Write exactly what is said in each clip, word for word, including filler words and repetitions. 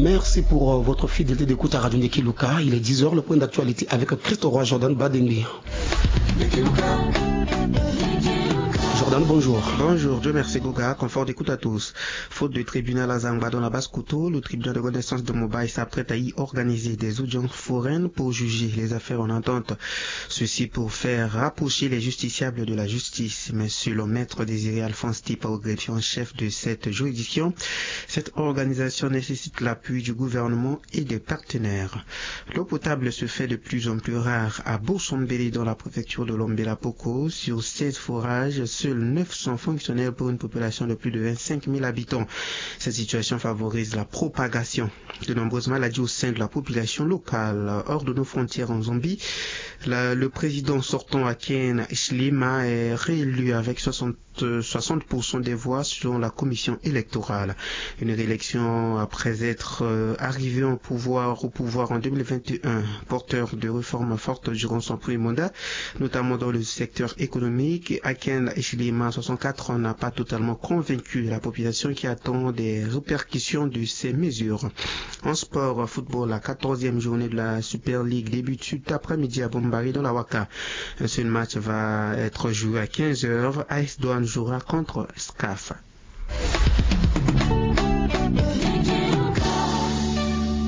Merci pour euh, votre fidélité d'écoute à Radio Ndeki Luka. Il est dix heures, le point d'actualité avec Christ Roi Jordan Badengbe. Jordan, bonjour. Bonjour, Dieu merci Goga, confort d'écoute à tous. Faute de tribunal à Zangba dans la Basse-Kotto, le tribunal de grande instance de Mobay s'apprête à y organiser des audiences foraines pour juger les affaires en attente. Ceci pour faire rapprocher les justiciables de la justice. Mais selon Maître Désiré Alphonse Tipa, au greffier en chef de cette juridiction, cette organisation nécessite l'appui du gouvernement et des partenaires. L'eau potable se fait de plus en plus rare à Boursombeli dans la préfecture de Lombela Poko. Sur seize forages, seuls neuf sont fonctionnels pour une population de plus de vingt-cinq mille habitants. Cette situation favorise la propagation de nombreuses maladies au sein de la population locale. Hors de nos frontières en Zambie, la- le président sortant Aken Hichilema est réélu avec soixante soixante pour cent des voix selon la commission électorale. Une réélection après être euh, arrivé au pouvoir, au pouvoir en deux mille vingt et un, porteur de réformes fortes durant son premier mandat, notamment dans le secteur économique. Aken Hichilema, soixante-quatre ans, n'a pas totalement convaincu la population qui attend des répercussions de ces mesures. En sport, football, la quatorzième journée de la Super League débute cet après-midi à Bombari dans la Waka. Un seul match va être joué à quinze heures. A S Douane jouera contre SCAF.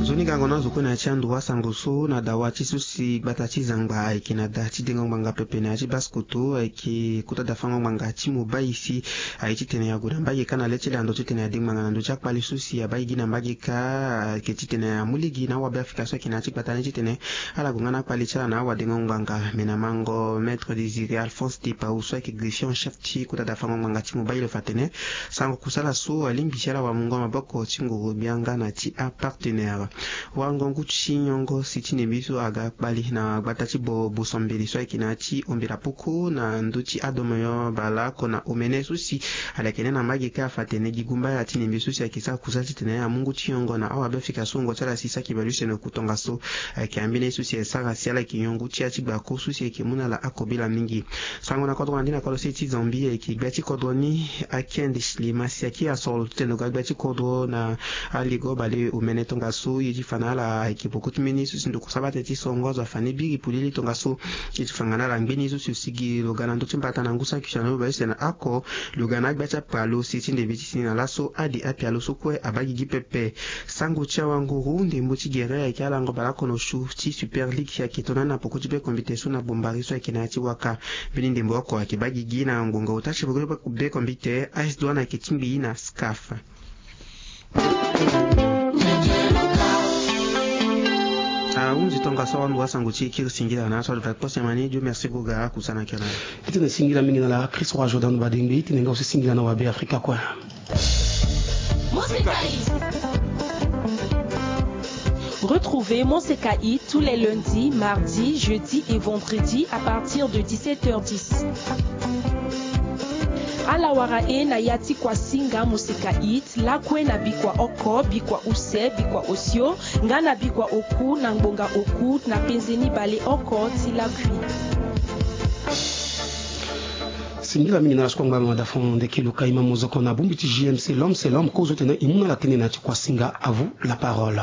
Nzoni gango na zo kue na ya ti ando asango so na dawa ti so si gbata ti Zangba ayeke na da ti dengo ngbanga pepe na ya ti Basse-Kotto ayeke kota dafango ngbanga ti Mobay si aye titene ague na mbage kâ na le ti lando titene ade ngbanga na ndö ti akpali so si abaa gi na mbage kâ ayeke titene amu lege na awabe afrika so ayeke na ya ti gbata ni titene ala gue nga na akpali ti ala na awadengo ngbanga. Me na mango Maître Désiré Alphonse Tipa so ayeke greffier en chef ti kota dafango ngbanga ti Mobay lo fa atene sango kusala so alingbi ti ala wamungo maboko ti nguru gbia nga na ti apartenaire. Wango ngu ti nyongo si ti ndembe so aga kpali na gbata ti Boursombeli so ayeke na ya ti Lombela Poko na ndö ti adomoyo baleoko na omene so si ala yeke ne na mbage kâ afa atene gi gumbaya ti ndembe so si ayeke sara kusala titene amu ngu ti nyongo na awabe afrika so wungo ti ala si saki bale use na oku tongaso. Ayeke ambeni so si asara si ala yeke nyon ngu ti ya ti gbako so si ayeke mu na ala akobela mingi. Sango na kodro na ndi na kodro se ti Zambie ayeke gbia ti kodro ni Aken Hichilema si ayeke asoro titene lo ga gbia ti kodro na aligo baleomene tongaso. Ye ti fa na ala ayeke poko ti mbeni so si ndokua sabate ti songo azo afa ni biri polele tongaso. Ye ti fa nga na ala ngbeni so si lo sigi lo ga na ndö ti mbata na ngu saki si na lo bale use na oko lo ga na agbia ti apalo si ti ndembe ti tini na laso ade apialo so kue abaa gigi pepe. Sango ti awanguru ndembo ti gere ayeke alango baleoko na osio ti Super League si ayeke tongana ni na poko ti bekombite so na Bombari so ayeke na ya ti Waka. Mbeni ndembo oko ayeke baa gigi na ngbonga ota ti poko ti bekombite. A S Douane ayeke tingbi na SCAF. Ahunzi tongaso awanduru asango ti e kiri singila na aso adi fa kpose mani. Dieu merci Goga, akusana kena. Itene singila mingi na ala Christ Roi Jordan Badengbe, itene nga aussi singila na wabe Afrika kue. Retrouvez Monsekaï tous les lundis, mardis, jeudis et vendredis à partir de dix-sept heures dix. Ala wara e na ya ti Kwasinga Monsekaï lakue na bikua oko, bikua use, bikua osio, nga na bikua oku na ngbonga oku na penze ni baleoko ti lakui. Singila mingi na ala so kue angba lo na da fond ndeke lo ka e ma mozoko na bongbi ti J M C, l'homme c'est l'homme, kozo tene e mu na ala tënë na ya ti Kwasinga. À vous la parole.